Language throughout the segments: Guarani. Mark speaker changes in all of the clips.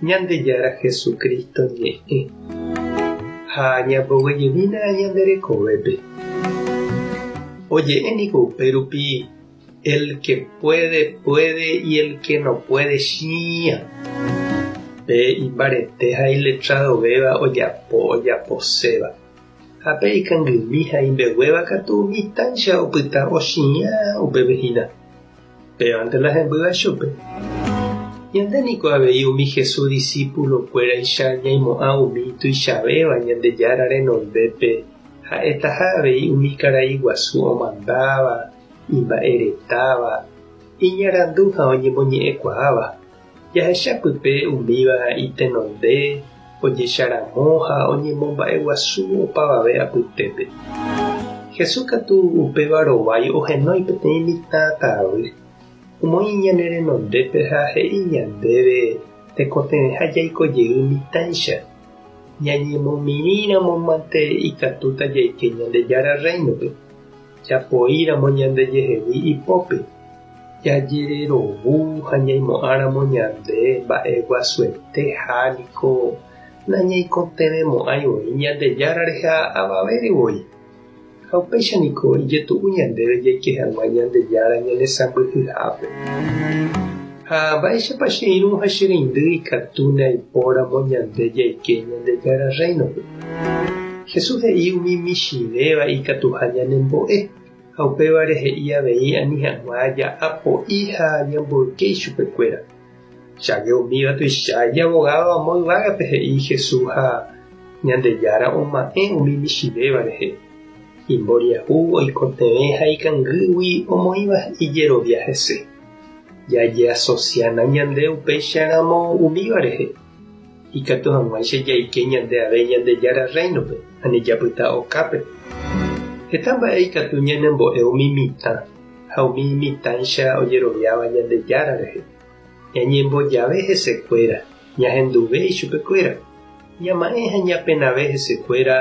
Speaker 1: Ñandejára Jesucristo ñe'ẽ ha ñamboguejymína ñande rekovépe. Oje'e niko upérupi El que puede, puede y el que no puede, chĩa. Pe imbarete ha iletradovéva ojapo ojaposéva. Ha pe ikangymi ha imbeguéva katu mitãicha opyta ochiã upépe hína. Pévante la hembýva chupe. Ñande niko avei umi Jesús disípulo-kuéraicha ñaimo'ã umi tuichavéva Ñandejára renondépe ha'etaha avei umi karai guasu omandáva, imba'eretáva, iñarandu ha oñemoñe'ẽkuaáva. Jahecha pype umíva itenonde, ojecharamo ha oñemomba'eguasu opavave apytépe. Jesús katu upéva rovái ohenói peteĩ mitã tavy, omoĩ ñane renondépe ha he'i ñandéve tekotevẽha jaiko jey mitãicha. Ñañemomirĩramo mante ikatúta jaike Ñandejára Rréinope, japoíramo ñandejehegui ipópe. Jajererovu ha ñaimo'ãramo ñande mba'e guasuete ha niko nañaikotevẽmo'ãi voi Ñandejára rehe avavére voi. Ha upéicha niko ijetu'u ñandéve jaike hag̃ua Ñandejára ñanesãmbyhyhápe. Ha mba'éichapa che irũ ha che reindy ikatúne aipóramo ñande jaike Ñandejára Rréinope? Jesús he'i umi michĩvéva ikatuha ñanembo'e. Ha upévare he'i avei ani hag̃ua ja'apo'i ha ñamboyke ichupekuéra. Cháke umíva tuicha ijavogádo amo yvágape he'i Jesús ha Ñandejára oma'ẽ umi michĩvéva rehe. Imboriahu oikotevẽ ha ikangýgui omoĩva ijerovia hese. Jajeasosiána ñande upéicharamo umíva rehe, ikatu hag̃uáicha jaike ñande ave Ñandejára Rréinope, ani japyta okápe. Heta mba'e ikatu ñanembo'e umi mitã ha umi mitãicha ojeroviáva Ñandejára rehe. Ñañembojave hesekuéra, ñahenduve ichupekuéra, ñama'ẽ ha ñapenave hesekuéra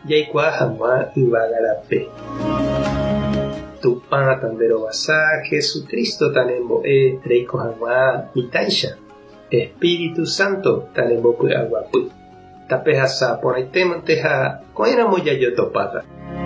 Speaker 1: jaikuaa hag̃ua yvága rape. Tupã tanderovasa, Jesucristo tanembo'e reiko hag̃ua mitãicha. Espíritu Santo tanembopy'aguapy. Tapehasa porãitémante ha ko'ẽramo jajotopáta.